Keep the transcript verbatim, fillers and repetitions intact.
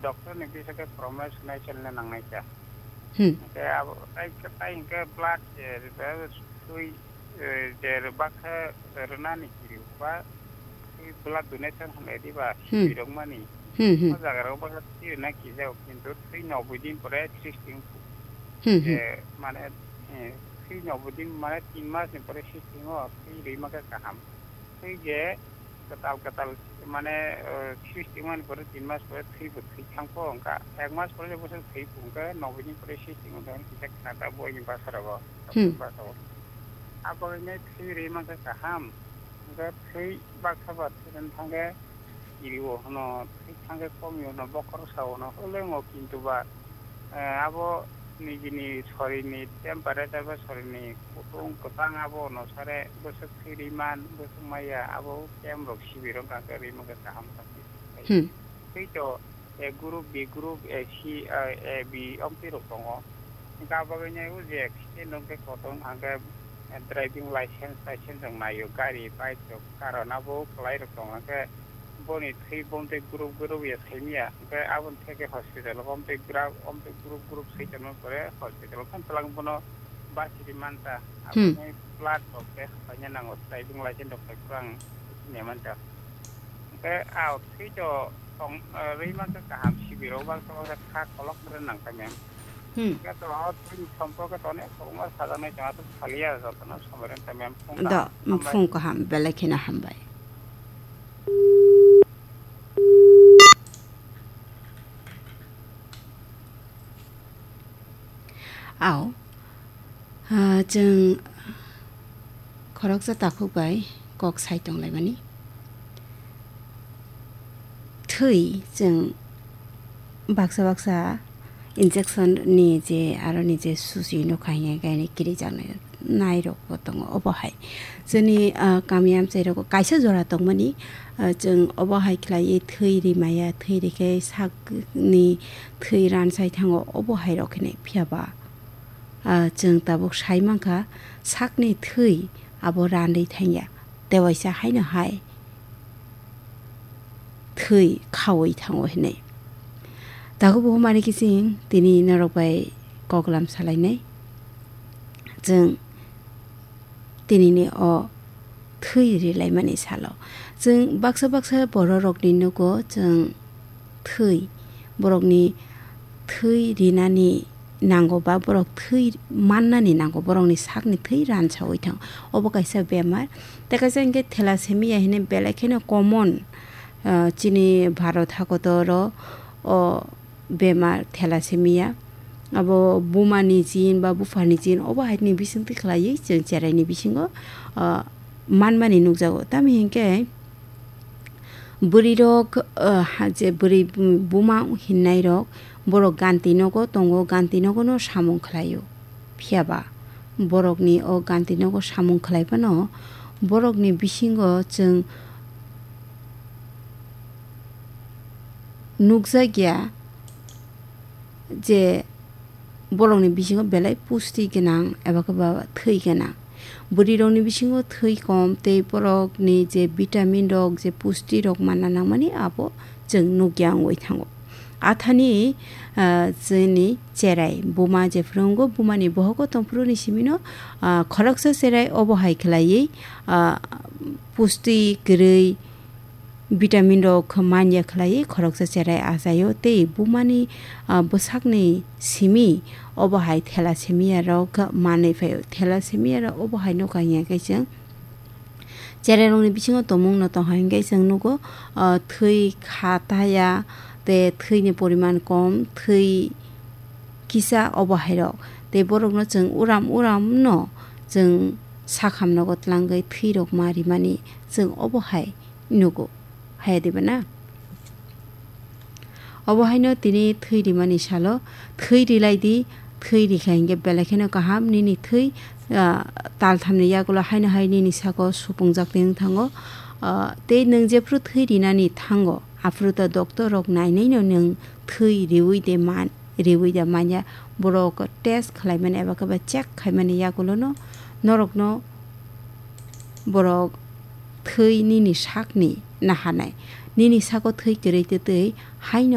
Doctor ni bisingtwi promise nai chelna nangnai kha. Hmm. Hwnkhe abo tai khe, tai hwnkhe blood je rwbai twi, eh, je rwbak khe rwnani kiri ba twi blood donation hwnwi diba Hmm. sirok mani. Hmm, hmm. O jaga rok bwkha twi rwna kijago, kintu twi noboi din pore sixteen Hmm, hmm. je mane, eh, twi noboi din mane tin mas ni pore sixteen o twi rwima khe kaham. Twi je kwtal kwtal mane, eh, sixteen mani pore tin mas pore thwi bo thwi thang kho, wngkha ek mas pore je bwswk thwi phu, wngkha noboi din pore sixteen wngkha kisa khata boi ni bwsa rogo, Hmm. bwsa o. Abo wngkha thwi rwi mankha kaham, wngkha thwi baksa ba thwi rwna thangkhe kiri o hwno, thwi thangkhe kom o hwno, bokhorok sa o hwno, hwleng o kintu ba, eh, abo nijini sorini temperature ba sorini kutung kwchang abo onusare bwswk thwi rwi man, bwswk maya, abo camp rok sibirok hwnkhe rwi mankhe kaham kha. Hmm. Tei to, A group, B group, A C, eh, A B omtwi rok tongo. Hwnkhe abo bagwi nai o je accident wngkhe kotor hwnkhe, eh, driving license, license rok naio, gari, bike rok, car rok nabo kwlai rok tongo. Hwnkhe boni thwi bomtwi group group ya saimya, hwnkhe aboni theke hospital o omtwi gra-, omtwi group group sai tongma pore hospital o phano twlang bono bachiri manta. Hmm. Aboni blood rok test khlaina nango, driving license rok bai kwrwng sini manta. Hwnkhe a thwi to tong, eh, rwi mankha kaham sibirok baksa baksa kha kolok kwrwng nang kha mem. Hmm. Hwnkhe to o thwini somporke to onek kwbangma sajaknai tong, aswk saliya jotono somoi rwng kha mem. Phung Do, kaham, hambai. Phung kaham, belai kheno hambai. Ao, ah, chwng khoroksa takhuk bai kok sai tonglaimani. Thwi chwng baksa baksa injection ni je aro ni je susi nukha hinkhe kaini kirijaknai nairokbo tongo obo hai. Chwngni, ah, kami amchairok kaisa jora tongmani, ah, chwng obo hai khlaiwi thwi rimaya, thwi rikhe sakni thwi ransai thango obo hai rok hinwi. Phiya ba, ah, chwng tabuk sai mankha sakni thwi abo ranwi thangya, tewaisa haino hai thwi khaui thango hinwi. Tabuk bo mani kiching tini norok bai koklam salainai. Chwng tinini o thwi rilaimani salo. Chwng baksa baksa bororokni nugo chwng thwi, borokni thwi rinani nango ba borok thwi mannani nango, borokni sakni thwi ransaui thango. Obo kaisa bemar. Tei kaisa hinkhe thalassemia hinwi belai kheno common, ah, chini Bharat hakotoro o bemar thalassemia. Abo bumani gene ba buphani gene obo haini bisingtwi khlaiwi chwng cheraini bisingo, ah, manmani nukjago. Tamo hinkhe bwrwirok, ah, ha-, je bwrwi buma hinnairok borok ganti nogo tongo, ganti nogono samung khlaio. Phiya ba borokni o ganti nogo samung khlai phano borokni bisingo chwng nukjakya je borokni bisingo belai pusti gwnang eba khe ba thwi gwnang. Bwrwirokni bisingo thwi kom tei borokni je vitamin rok, je pusti rok manna nangmani abo chwng nukya wngwi thango. Athani, ah, chini cherai buma jephuru wngo, bumani bohogo tongphuruni simino, ah, khoroksa cherai obo hai khlaiwi, ah, pusti kwrwi vitamin rok manya khlaiwi khoroksa cherai achaio tei bumani, ah, bwsakni simi obo hai thalassemia rok manwi phaio. Thalassemia rok obo hai nukha hinkhe chwng Cherairokni bisingo tongmungno tongha hinkhe chwng nugo, ah, thwi kha taya tei thwini poriman kom, thwi kisa obo hairok. Tei borokno chwng uram uramno chwng sakham nogo tlangwi thwirok ma rimani chwng obo hai nugo. Haya diba na? Obo haino tini thwi rimani salo thwi rilai di, thwi rikha hinkhe belai kheno kaham nini thwi, ah, talthamni yagulo haino hai nini sako supungjak twi wng thango. Ah, tei nwng jephru thwi rinani thango, aphuru to doctor rok nainaino nwng thwi riwi de man, riwi de manya, borok test khlaimani eba khe ba check khaimani yagulono norokno borok thwi nini sakni naharnai, nini sako thwi kwrwi twi twi haino